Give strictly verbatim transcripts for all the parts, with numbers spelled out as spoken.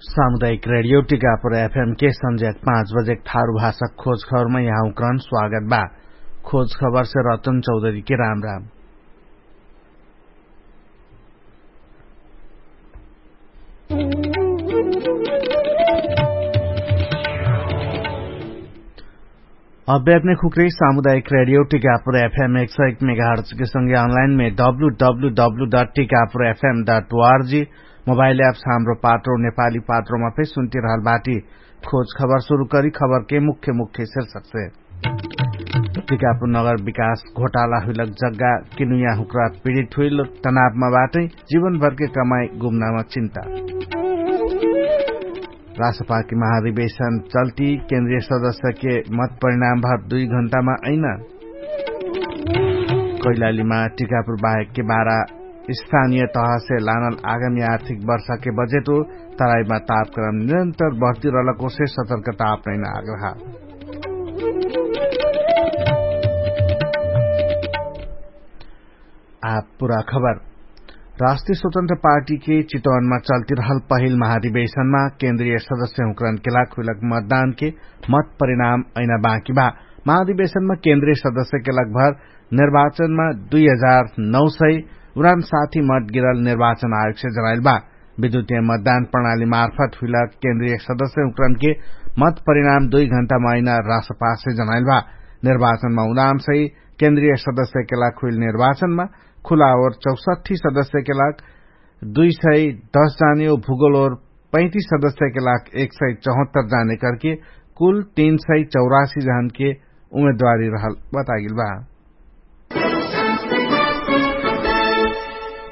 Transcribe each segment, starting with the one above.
सामुदायिक रेडियो टिकापुर एफएम के संझ्याक पाँच बजेक थारु भाषा खोज खबरमा यहाँउक्रन स्वागत बा। खोज खबरसे रतन चौधरीके राम राम। अभ्यापने खुक्रे सामुदायिक रेडियो टिकापुर एफएम एक सय एक मेगाहर्चके संगे अनलाइनमे W W W dot Tikapur FM dot ORG mobile apps Hamro Patro नेपाली पात्रोमा फे सुन्तिरहल बाटी। खोज खबर सुरु करी खबरके मुख्य मुख्य शीर्षकसे। टिकापुर नगर विकास घोटाला हुइलक जग्गा किनुया हुक्रा पीडित हुइल तनावमा बाटै। जीवनभरके कमाई गुम्नामा चिन्ता। राष्ट्रपालके महाधिवेशन चल्ती केन्द्रीय सदस्यके मत परिणाम भर दुई घण्टामा ऐना। कैलालीमा टिकापुर बाहेकके बारा स्थानीय तहसे लानल आगामी आर्थिक वर्षके बजेटो तराईमा तापक्रम निरन्तर बढ्ती रहलकोसे सतर्कता अपनैना आग्रह। आब पुरा खबर। राष्ट्रिय स्वतन्त्र पार्टीके चितवनमा चल्तिरहल पहिल महाधिवेशनमा केन्द्रीय सदस्य हुँकरनके लाग हुइलक मतदानके मत परिणाम ऐना बाँकी बा। महाधिवेशनमा केन्द्रीय सदस्यके लगभर निर्वाचनमा दुई हजार नौ सय उरान साथी मत गिरल निर्वाचन आयोगसे जनाइल बा। विद्युतीय मतदान प्रणाली मार्फत हुइलक केन्द्रीय सदस्य हुँकरनके मत परिणाम दुई घण्टामा ऐना राष्ट्रपालसे जनाइल बा। निर्वाचनमा उरान सही केन्द्रीय सदस्यके लाग हुइल निर्वाचनमा खुला ओर चौसट्ठी सदस्यके लाग दुई सय दस जाने ओ भूगोल ओर पैँतिस सदस्यके लाग एक सय चौहत्तर जाने करके कुल तीन सय चौरासी जहनके उमेदवारी रहल बतागिल बा।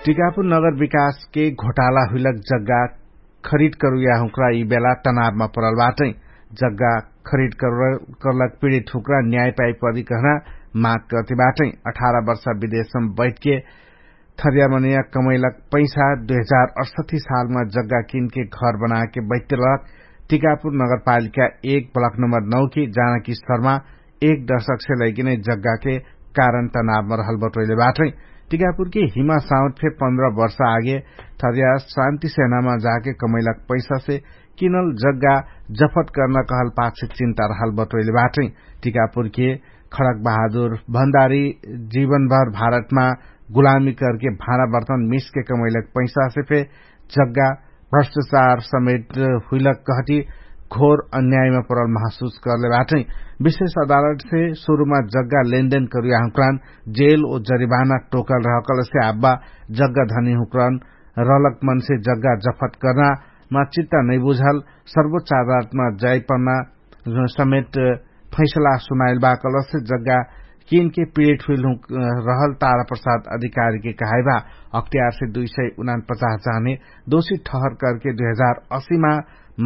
टिकापुर नगर विकासके घोटाला हुइलक जग्गा खरिद करुया हुँक्रा यि बेला तनावमा परल बाटै। जग्गा खरिद करलक पीडित हुँक्रा न्याय पाइपरी कहना माग करती बाटै। अठारह वर्ष विदेशमा बैठके थर्यामनिया कमैलक पैसा दुई हजार अठसट्ठी सालमा जग्गा किनके घर बनाके बैठते रहक टिकापुर नगरपालिका एक ब्लक नम्बर नौ कि जानकी शर्मा एक दशकसे लैकिनै जग्गाके कारण तनावमा रहल बटोइले बाटै। टिकापुरके हिमा साउन्ड फे पन्ध्र वर्ष आगे थर्या शान्ति सेनामा जाके कमैलक पैसासे किनल जग्गा जफत कर्ना कहल पाछे चिन्ता रहल बटोइले बाटै। टिकापुरके खडक बहादुर भण्डारी जीवनभर भारतमा गुलामी करके भाँडा बर्तन मिसके कमैलक पैसासे फे जग्गा भ्रष्टाचार समेट हुइलक कहटी घोर अन्यायमा परल महसुस करले बाटै। विशेष अदालतसे सुरुमा जग्गा लेनदेन करुया हुँक्रान जेल ओ जरिबाना टोकल रहकलसे आब्बा जग्गा धनी हुँक्रान रहलक मनसे जग्गा जफत कर्नामा चित्ता नैबुझल सर्वोच्च अदालतमा जाइपन्ना समेट फैसला सुनाइल बा कलसे जग्गा किनके पीडित हुइल रहल तारा प्रसाद अधिकारीके कहाइबा। अख्तियारसे दुई सय उनान पचास जाने दोषी ठहर करके दुई हजार असी मा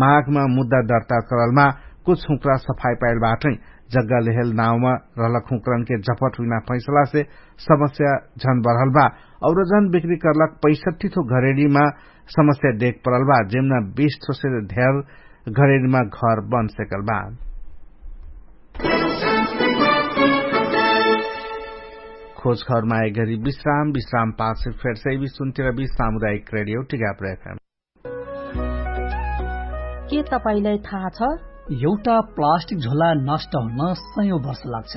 माघमा मुद्दा दर्ता करलमा कुछ हुँक्रा सफाई पाइल बाटै। जग्गा लेहेल नाउँमा रहलक हुँक्रनके जपट हुइना फैसलासे समस्या झन बढल बा। और जन बिक्री करलक पैसठ्ठी थो घरेडीमा समस्या देख परल बा जेमना बिस थोसे धेर घरेडीमा घर बन सेकल बा। खोज खबरमा एक घरी विश्राम विश्राम पाछे फेरसै भी सुन्तिर भी सामुदायिक रेडियो टिकापुर एफएम। के तपाईंलाई थाहा छ? एउटा प्लास्टिक झोला नष्ट हुन सयौं वर्ष लाग्छ।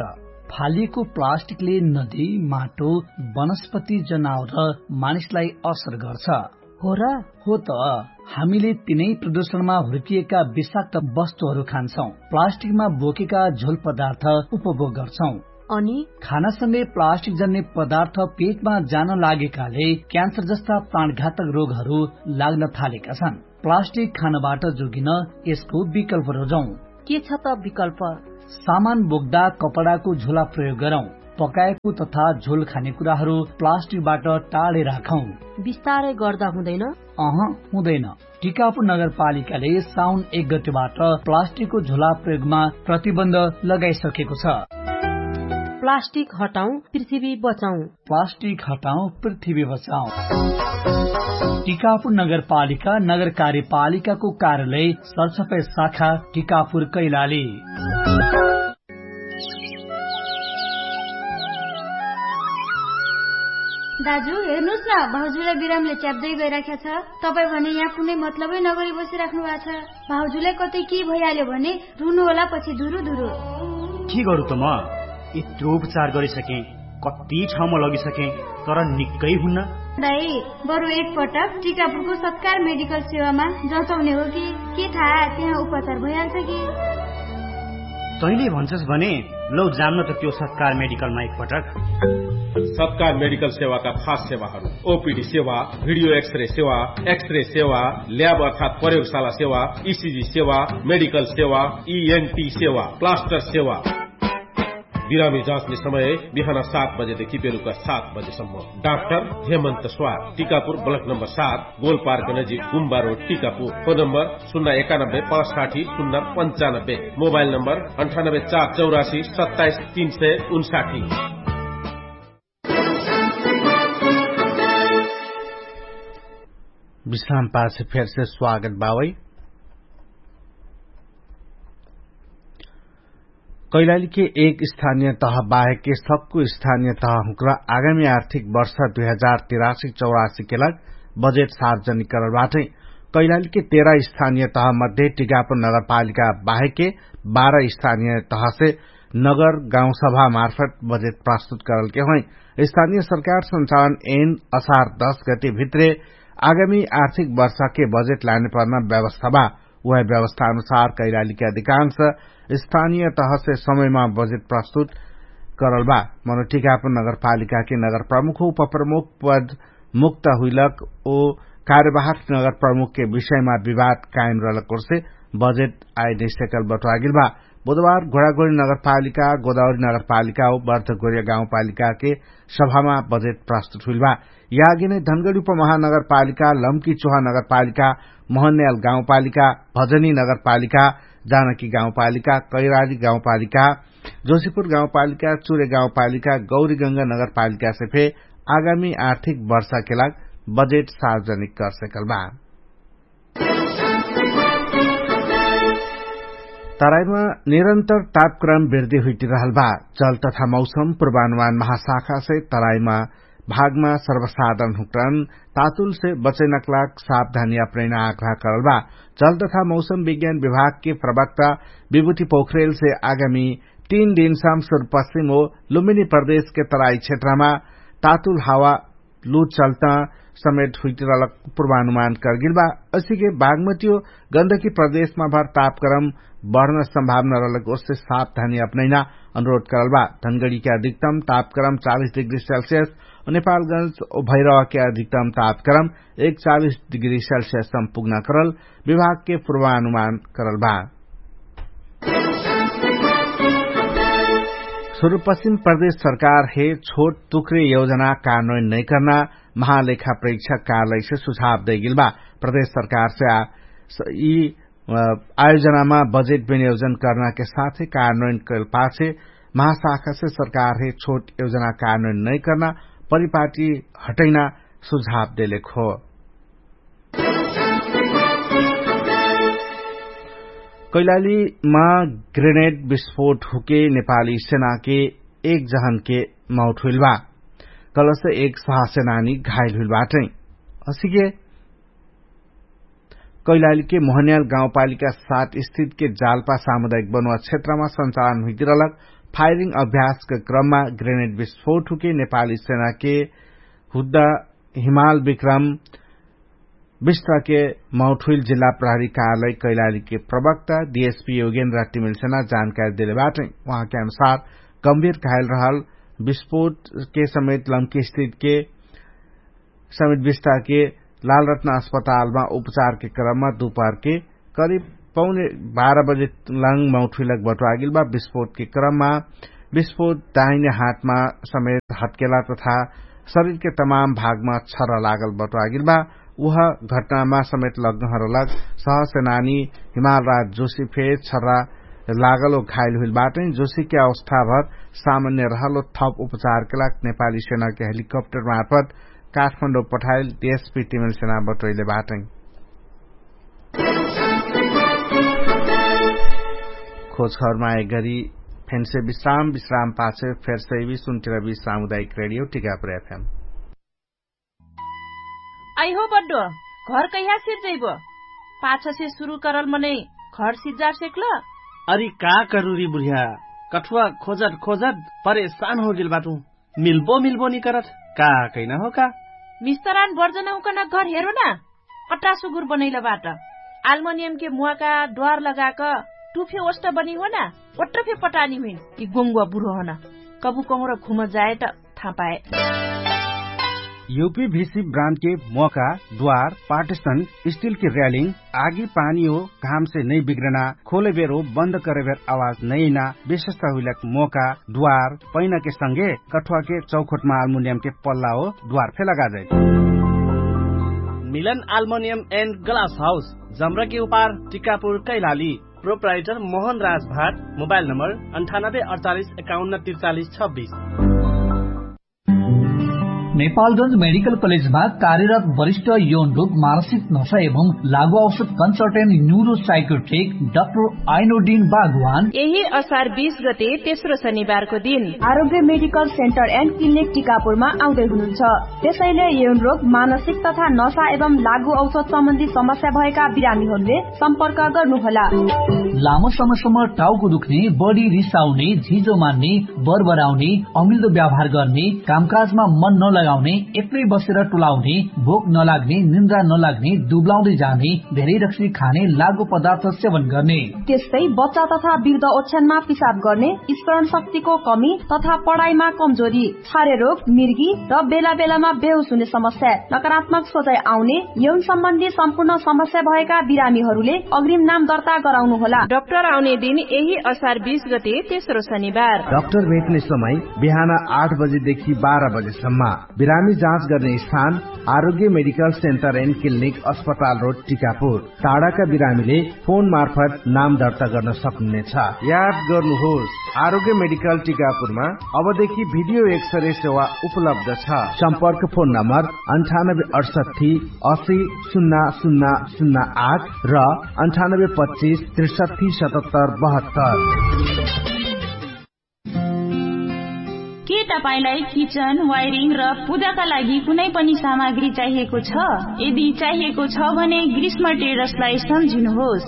फालिएको प्लास्टिकले नदी, माटो, वनस्पति, जनावर र मानिसलाई असर गर्छ। हो र? हो त। हामीले तिनै प्रदूषणमा हुर्किएका विषाक्त वस्तुहरू खान्छौं, प्लास्टिकमा बोकेका झोल पदार्थ उपभोग गर्छौं। अनि खानासँगै प्लास्टिक जन्ने पदार्थ पेटमा जान लागेकाले क्यान्सर जस्ता प्राणघातक रोगहरू लाग्न थालेका छन्। प्लास्टिक खानबाट जोगिन यसको विकल्प रोजौं। के छ त विकल्प? सामान बोक्दा कपडाको झोला प्रयोग गरौं। पकाएको तथा झोल खाने कुराहरू प्लास्टिकबाट टाढे राखौं। बिस्तारै गर्दा हुँदैन? अह, हुँदैन। टिकापुर नगरपालिकाले साउन एक गतेबाट प्लास्टिकको झोला प्रयोगमा प्रतिबन्ध लगाइसकेको छ। प्लास्टिक हटाउँ, पृथ्वी बचाउँ। प्लास्टिक हटाउँ, पृथ्वी बचाउँ। टिकापुर नगरपालिका नगर कार्यपालिकाको कार्यालय सरसफाई शाखा टिकापुर कैलाली। दाजु, हेर्नुस् न, भाउजुले बिरामले च्याप्दै गइराख्या छ। तपाईँ भने यहाँ कुनै मतलबै नगरी बसिराख्नु भएको छ। भाउजुले कतै के भइहाल्यो भने रुनु होला पछि धुरु धुरु। के गरु त म? यत्रो उपचार गरिसकेँ, कति ठाउँमा लगिसकेँ, तर निक्कै हुन्न। दाइ, बरु एक पटक टिकापुरको सत्कार मेडिकल सेवामा जचाउने हो कि, के थाहा त्यहाँ उपचार भइहाल्छ कि? तैँले भन्छस् भने लौ जान्न त त्यो सत्कार मेडिकलमा एक पटक। सत्कार मेडिकल सेवाका खास सेवाहरू: ओपिडी सेवा, भिडियो एक्सरे सेवा, एक्सरे सेवा, ल्याब अर्थात् प्रयोगशाला सेवा, इसिजी सेवा, मेडिकल सेवा, इएनटी सेवा, प्लास्टर सेवा। बिरामी जाँच्ने समय बिहान सात बजेदेखि बेलुका सात बजेसम्म। डाक्टर हेमन्त स्वार, टिकापुर, ब्लक नम्बर सात, गोलपार्क नजिक, गुम्बा रोड, टिकापुर। फोन नम्बर शून्य एकानब्बे पाँच साठी शून्य पन्चानब्बे। मोबाइल नम्बर अन्ठानब्बे चार चौरासी सत्ताइस तीन सय उन्साठी। विश्राम पाछे फेरसे स्वागत बावै। कैलालीके एक स्थानिय तह बाहेके सक्कु स्थानिय तह हुँक्रा आगामी आर्थिक वर्ष दुई हजार तिरासी चौरासीके लाग बजेट सार्वजनिक करल बाटै। कैलालीके तेरा स्थानिय तह मध्ये टिकापुर नगरपालिका बाहेके बाह्र स्थानिय तहसे नगर गाउँसभा मार्फत बजेट प्रस्तुत करलके होइ। स्थानिय सरकार सञ्चालन एन असार दश गति भित्रे आगामी आर्थिक वर्षके बजेट लाने पर्ना व्यवस्था बा। उहे व्यवस्था अनुसार कैलालीके अधिकांश स्थानिय तहसे समयमा बजेट प्रस्तुत करल बा। मनोटिकापुर नगरपालिकाके नगरप्रमुख उपप्रमुख पद मुक्त हुइलक ओ कार्यवाहक नगरप्रमुखके विषयमा विवाद कायम रहलक ओर्से बजेट आइनैसेकल बटुवागेल बा। बुधबार घोडाघोडी नगरपालिका, गोदावरी नगरपालिका ओ बर्धगोरिया गाउँपालिकाके सभामा बजेट प्रस्तुत हुइल बा। यागिनै धनगडी उपमहानगरपालिका, लम्की चोहा नगरपालिका, महन्याल गाउँपालिका, भजनी नगरपालिका, जानकी गाउँपालिका, कैराली गाउँपालिका, जोशीपुर गाउँपालिका, चुरे गाउँपालिका, गौरीगङ्गा नगरपालिकासे फे आगामी आर्थिक वर्षाके लाग बजेट सार्वजनिक करसेकल बा। तराईमा निरन्तर तापक्रम वृद्धि हुइटिरहल बा। जल तथा मौसम पूर्वानुमान महाशाखासे तराईमा भागमा सर्वसाधारण हुँक्रन तातुलसे बचैनक लाग सावधानी अपनैना आग्रह करल बा। जल तथा मौसम विज्ञान विभागके प्रवक्ता विभूति पोखरेलसे आगामी तीन दिनसम सुरपश्चिम ओ लुम्बिनी प्रदेशके तराई क्षेत्रमा तातुल हावा लु चल्ता समेत हुइटिरहलक पूर्वानुमान करगेल बा। असिके बागमतियो गन्दकी प्रदेशमा भर तापक्रम बढ्न सम्भावना रहलक ओर्से सावधानी अपनैना अनुरोध करल बा। धनगडीके अधिकतम तापक्रम चालिस डिग्री सेल्सियस, नेपालगंज ओ भैरवाके अधिकतम तापक्रम एकचालिस डिग्री सेल्सियससम पुग्ना करल विभागके पूर्वानुमान करल बा। सुरुपश्चिम प्रदेश सरकार हे छोट तुक्रे योजना कार्नोइन नैकर्ना महालेखा प्रेक्षक कार्यालयसे सुझाव दैगेल बा। प्रदेश सरकारसे यि आयोजनामा बजेट विनियोजन कर्नाके साथै कार्नोइन कैलपाछे महाशाखासे सरकार हे छोट योजना कार्नोइन नैकर्ना परिपाटी हटैना सुझाव देलेक हो। कैलालीमा ग्रेनेड विस्फोट हुके नेपाली सेनाके एक जहनके मौट हुइल बा। कलसे एक सहसेनानी घाइल हुइल बाटै। असिके कैलालीके मोहन्याल गाउँपालिका सात स्थितके जालपा सामुदायिक बनुवा क्षेत्रमा सञ्चालन हुइतिरलक फायरिङ अभ्यासके क्रममा ग्रेनेड विस्फोट हुके नेपाली सेनाके हुद्दा हिमाल विक्रम विष्टके मौठुइल जिल्ला प्रहरी कार्यालय कैलालीके प्रवक्ता डिएसपी योगेन्द्र टिमिलसेना जानकारी देले बाटै। उहाँके अनुसार गम्भीर घायल रहल विस्फोटके समेत लम्की स्थितके समेत विष्टके लालरत्न अस्पतालमा उपचारके क्रममा दुपहरके करिब पौने बाह्र बजे लङ मौठुइलक बटुवागिल बा। विस्फोटके क्रममा विस्फोट दाहिने हातमा समेत हटकेला तथा शरीरके तमाम भागमा छर्रा लागल बटुवागिल बा। उह घटनामा समेत लग्नहरलक सहसेनानी हिमालराज जोशी फे छर्रा लागल ओ घाइल हुइल बाटै। जोशीके अवस्थाभर सामान्य रहल ओ थप उपचारके लाग नेपाली सेनाके हेलिकप्टर मार्फत काठमाडौं पठाइल डिएसपी टिमिलसेना बटोइले बाटै। खोजखबरमा एक गरी फेन्से विश्राम विश्राम पाछे फेर्सैबी सुन्टिरबी सामुदायिक रेडियो टिकापुर एफएम। अइहो बड्डो, घर कहिया सिर्जैबो? पाछसे सुरु करल मनै घर सिर्जार सेक्ल? अरि का करुरी बुढिया, कठुवा खोजत खोजत परेशान होगेल बाटु। मिल्बो मिल्बो निकरत, का कैना हो का? मिस्तरान बर्जनहुकन घर हेरो ना। अट्टा सुगुर बनैल बाट। आल्मनियमके मुवाका द्वार लगाक टुफे ओष्ट बनी हो ना। ओट्ट फे पटानी हुइन। यि गोङ्गुवा बुढो हन। कबु कहुँर घुम जाए त थापाए। युपी भिसी ब्रान्डके मोका द्वार पार्टिसन स्टिलके र्यालिङ आगी पानी हो घामसे नै बिग्रना खोलेबेर हो बन्द करेबेर आवाज नैना विशेषता हुइलक मोका द्वार पैनाके संगे कठुवाके चौखोटमा आल्मुनियमके पल्ला हो द्वार फे लगाजाइ। मिलन आल्मुनियम एन्ड ग्लास हाउस जम्रके उपार टिकापुर कैलाली। प्रोप्राइटर मोहन राज भाट। मोबाइल नम्बर अन्ठानब्बे अडचालिस एकाउन्न त्रिचालिस छब्बिस। नेपालगंज मेडिकल कलेजमा कार्यरत वरिष्ठ यौन रोग मानसिक नशा एवं लागु औषध कन्सल्टेन्ट न्युरो साइकोट्रिक डाक्टर आइनोडिन बागवान यही असार बीस गते तेस्रो शनिबारको दिन आरोग्य मेडिकल सेन्टर एन्ड क्लिनिक टिकापुरमा आउँदै हुनुहुन्छ। त्यसैले यौन रोग मानसिक तथा नशा एवं लागु औषध सम्बन्धी समस्या भएका बिरामीहरूले सम्पर्क गर्नुहोला। लामो समयसम्म टाउको दुख्ने, बढी रिसाउने, झिजो मान्ने, बरबराउने, अमिल्दो व्यवहार गर्ने, कामकाजमा मन नलगाउने, एक्लै बसेर टुलाउने, भोक नलाग्ने, निन्द्रा नलाग्ने, दुब्लाउँदै जाने, धेरै रक्सी खाने, लागु पदार्थ सेवन गर्ने। त्यस्तै बच्चा तथा वृद्ध ओछ्यानमा पिसाब गर्ने, स्मरण शक्तिको कमी तथा पढाइमा कमजोरी, छारे रोग, मिर्गी र बेला बेलामा बेहोस हुने समस्या, नकारात्मक सोचाइ आउने, यौन सम्बन्धी सम्पूर्ण समस्या भएका बिरामीहरूले अग्रिम नाम दर्ता गराउनुहोला। डाक्टर आउने दिन यही असार बीस गते तेस्रो शनिबार। डाक्टर भेट्ने समय बिहान आठ बजेदेखि बाह्र बजेसम्म। बिरामी जाँच गर्ने स्थान आरोग्य मेडिकल सेन्टर एन्ड क्लिनिक अस्पताल रोड टिकापुर। टाढाका बिरामीले फोन मार्फत नाम दर्ता गर्न सक्नुहुनेछ। याद गर्नुहोस्, आरोग्य मेडिकल टिकापुरमा अबदेखि भिडियो एक्सरे सेवा उपलब्ध छ। सम्पर्क फोन नम्बर अन्ठानब्बे अडसट्ठी असी सुन्ना सुन्ना सुन्ना आठ र अन्ठानब्बे पच्चिस त्रिसट्ठी सतहत्तर बहत्तर। के तपाईंलाई किचन वायरिङ र पूजाका लागि कुनै पनि सामग्री चाहिएको छ? यदि चाहिएको छ भने ग्रीष्म ट्रेडर्सलाई सम्झिनुहोस्।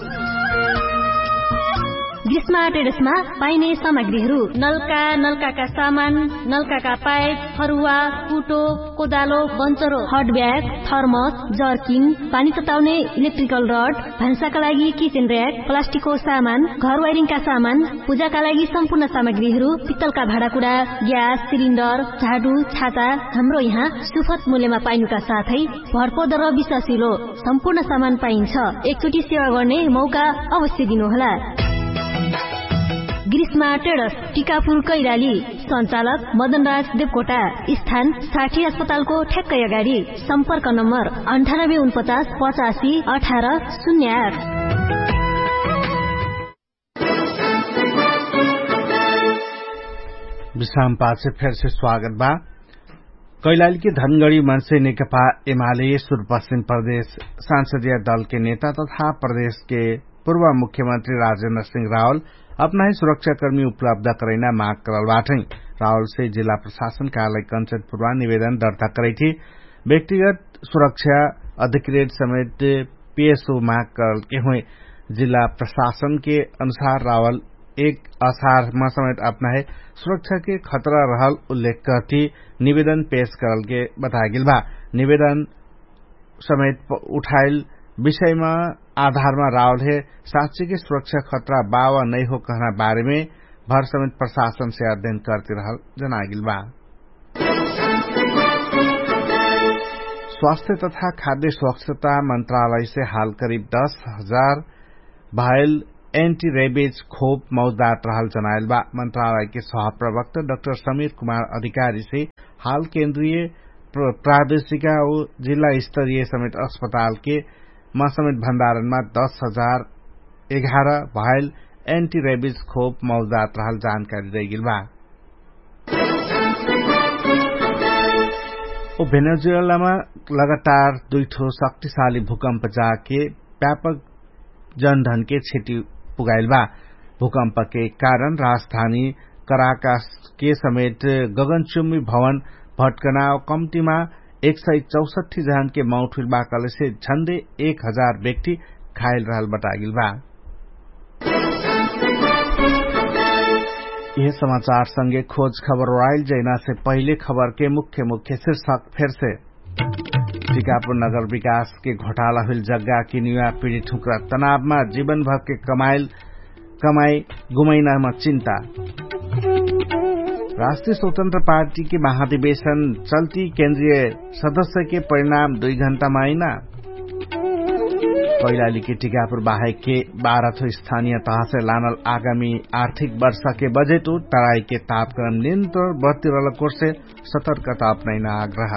ग्रीष्म ट्रेडर्समा पाइने सामग्रीहरू नलका, नलकाका सामान, नलकाका पाइप, फरुवा, कुटो, कोदालो, बन्चरो, हट ब्याग, थर्मस, जर्किन, पानी तताउने इलेक्ट्रिकल रड, भान्साका लागि किचन र्याक, प्लास्टिकको सामान, घर वायरिङका सामान, पूजाका लागि सम्पूर्ण सामग्रीहरू, पित्तलका भाँडाकुडा, ग्यास सिलिन्डर, झाडु, छाता, हाम्रो यहाँ सुफत मूल्यमा पाइनुका साथै भरपर्दो र विश्वासिलो सम्पूर्ण सामान पाइन्छ। एकचोटि सेवा गर्ने मौका अवश्य दिनुहोला। ग्रीष्मा ट्रेडर्स, टिकापुर कैलाली। सञ्चालक मदनराज देवकोटा। स्थान साठी अस्पतालको ठ्याक्कै अगाडि। सम्पर्क नम्बर अन्ठानब्बे उनपचास पचासी अठार शून्य आठ। विश्राम पाछे फेरसे स्वागत बा। कैलालीके धनगढी मन्से नेकपा एमाले सुरपश्चिम प्रदेश सांसदीय दलके नेता तथा प्रदेशके पूर्व मुख्यमन्त्री राजेन्द्र सिंह रावल अपनाही सुरक्षाकर्मी उपलब्ध करैना माग करल बाटै। रावलसे जिल्ला प्रशासन कार्यालय कन्चनपुरमा निवेदन दर्ता करैठी व्यक्तिगत सुरक्षा अधिकृत समेत पेशो माग करलके हुइ। जिल्ला प्रशासनके अनुसार रावल एक असारमा समेत अपनाहे सुरक्षाके खतरा रहल उल्लेख करती निवेदन पेश करलके बतागेल बा। निवेदन समेत उठाइल विषयमा आधारमा रावलहे साक्षीके सुरक्षा खतरा बावा नैहो कहना बारेमे भर समेत प्रशासनसे अध्ययन करती रहल जनागेल बा। स्वास्थ्य तथा खाद्य स्वच्छता मन्त्रालयसे हाल करिब दश हजार भाइल एन्टी रेबिज खोप मौजदात रहल जनाइल बा। मन्त्रालयके सहप्रवक्त डक्टर समीर कुमार अधिकारीसे हाल केन्द्रीय प्रादेशिका उ जिल्ला स्तरीय समेत अस्पतालके मा समेत भण्डारणमा दश हजार एघार भाइल एन्टी रेबिज खोप मौजदात रहल जानकारी दैगेल बा। ओ भेनेजुएलामा लगातार दुइठो शक्तिशाली भूकम्प जाके व्यापक जनधनके क्षति पुगाइल बा। भूकम्पके कारण राजधानी कराकासके समेत गगनचुम्बी भवन भट्कना कम्तिमा एक सय चौसट्ठी जहानके मौत हुइल बा कहलेसे झन्डे एक हजार व्यक्ति घाइल रहल बटागिल बा। यह समाचार संगे खोज खबर ओराइल जैना से पहिले खबर के मुख्य मुख्य शीर्षक फेर से। टिकापुर नगर विकास के घोटाला हुइल जग्गा कि निवा पीडी ठुक्रा तनावमा जीवनभर के कमाइल कमाइ गुमैनामा चिन्ता। राष्ट्रिय स्वतन्त्र पार्टी के महाधिवेशन चल्ती केन्द्रिय सदस्य के परिणाम दुइ घण्टा माइना। कैलाली के टिकापुर बाहेक के बाह्र थो स्थानिय तहसे लानल आगामी आर्थिक वर्ष के बजेट उ तराई के तापक्रम नियन्त्रण बर्तिरल कोर्से सतर्कता अपनैना आग्रह।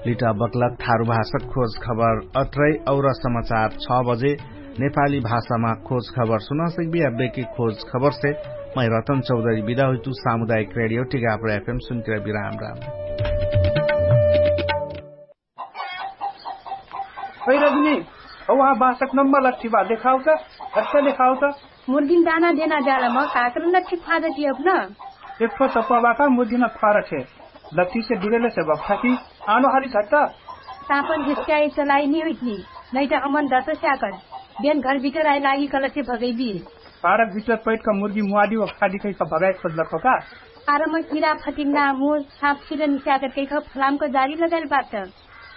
लिटा बक्लक थारु भाषक खोज खबर अत्रै और समाचार छ बजे नेपाली भाषामा खोज खबर सुना सकबी। अब्बे कि खोज खबर से मै रतन चौधरी बिदा हुइतु। सामुदायिक रेडियो टिकापुर एफएम सुनके बिराम राम। है रजनी, हौ अहाँ बासक नम्बर लट्ठी बा देखाउ त। हट्ट देखाउ त। मुर्गिन दाना देना जालम काकर लट्ठी फादत यब न। एक ठो सप्पा बाका मुर्गिन फारत हे। लट्ठी से बिरेले से बक्ठा कि आनो हाली झट्टा। सापन घिस्काइ चलाइ नि हुइतनी। नैट अमन दस स्याकर बेन घर बिटर आइ लागि कलसे भगैबी। फारक बिटर पैटका मुर्गी मुवादी व खादी कैका भगाइ खोजलक हो का? आरम किरा फटिङ्ना मुर साप सिर निस्याकर कैका फलामक जारी लगाइल बात।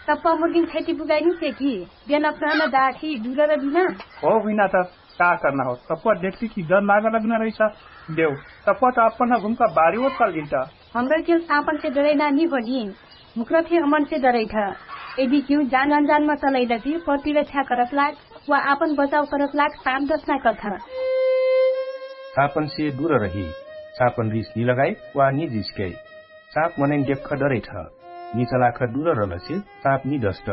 सप्पा मुर्गिन खैती बुगाइ निसे कि बेन अपना न दाठी दुरर बिना। हो बिना त का कर्ना हो? सप्पा देखती कि डर लागल बिना रहिसा। देउ सप्पा त अपन घुमका बारी ओत कल गिन्ता। हमरा केउ सापन से डरैना नि होली। मुक्रा फे हमन से डरैठ। यदि केउ जान अनजानमा चलैलति प्रतिरक्षा करत लाग वा आपन बचाउ करत लाग साप दसना कथ। सापन से दुर रही। सापन रिस नि लगाइ वा नि जिस्कै। साप मनैन देख्ख डरैठ। नि चलाख दुर रलसे साप नि दस्त।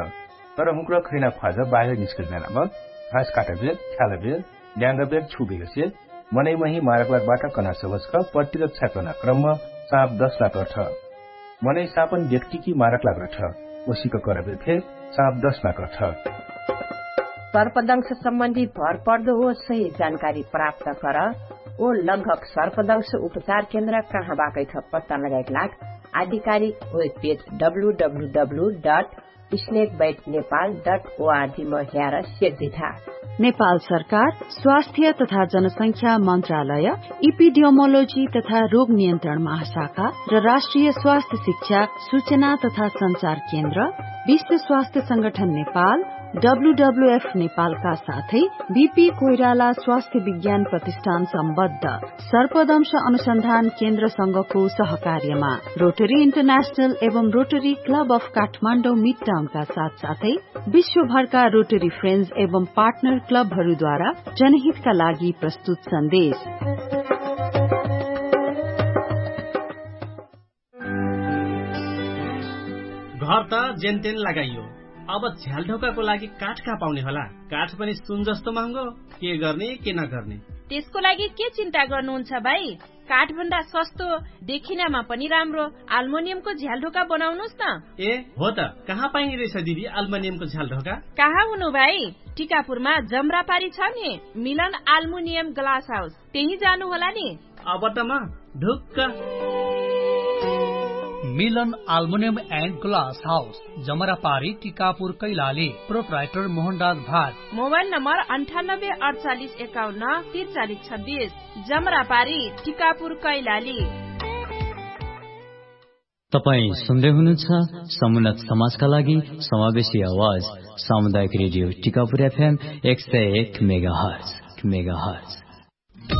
तर हुँक्र खैना ख्वाज बाहिर निस्कैल बेलाम घास काटबेर ख्यालबेर ल्याङ्गबेर छुबेरसे मनै महि मारक लाग बाट कना सवचक प्रतिरक्षा कना क्रमम साप दसना कर्ठ। मनै सापन देख्टिकी मारक लाग रठ। ओसिक करबेर फेर साप दसना कर्ठ। सर्पदंश सम्बन्धी भर पर्दो हो सही जानकारी प्राप्त कर। ओ लगभग सर्पदंश उपचार केन्द्र कहाँ बाकैठ पत्ता लगाइक लाग आधिकारिक web page W W W dot snake bite Nepal dot ORG म ह्यार सेक दिठा। नेपाल सरकार स्वास्थ्य तथा जनसंख्या मन्त्रालय, इपिडियोमोलोजी तथा रोग नियन्त्रण महाशाखा र राष्ट्रिय स्वास्थ्य शिक्षा सूचना तथा सञ्चार केन्द्र, विश्व स्वास्थ्य संगठन नेपाल, डब्लुडब्लुएफ नेपालका साथै बिपी कोइराला स्वास्थ्य विज्ञान प्रतिष्ठान सम्बद्ध सर्पदंश अनुसन्धान केन्द्रसँगको सहकार्यमा रोटरी इन्टरनेशनल एवं रोटरी क्लब अफ काठमाडौँ मिडटाउनका साथसाथै विश्वभरका रोटरी फ्रेन्ड्स एवं पार्टनर क्लबहरूद्वारा जनहितका लागि प्रस्तुत सन्देश। घर त जेनतेन लगाइयो, अब झ्यालढोकाको लागि काठ कहाँ पाउने होला? काठ पनि सुन जस्तो महँगो। के गर्ने के नगर्ने? त्यसको लागि के चिन्ता गर्नुहुन्छ भाइ? काठभन्दा सस्तो, देखिनमा पनि राम्रो आल्मोनियमको झ्यालढोका बनाउनुस् न। ए हो त, कहाँ पाइने रहेछ दिदी आल्मोनियमको झ्यालढोका? कहाँ हुनु भाइ? टिकापुरमा जमरापारी छ नि, मिलन आल्मुनियम ग्लास हाउस, त्यही जानु होला नि। अब त म ढुक्क। मिलन आल्मुनियम एन्ड ग्लास हाउस, जमरापारी, टिकापुर, कैलाली। प्रोपराइटर मोहनराज भाट। मोबाइल नम्बर अन्ठानब्बे अडचालिस एकाउन्न तिरचालिस छब्बिस। जमरापारी, टिकापुर, कैलाली। तपाईं सुन्दै हुनुहुन्छ समुन्नत समाजका लागि समावेशी आवाज, सामुदायिक रेडियो टिकापुर एफएम एक सय एक मेगाहर्ज।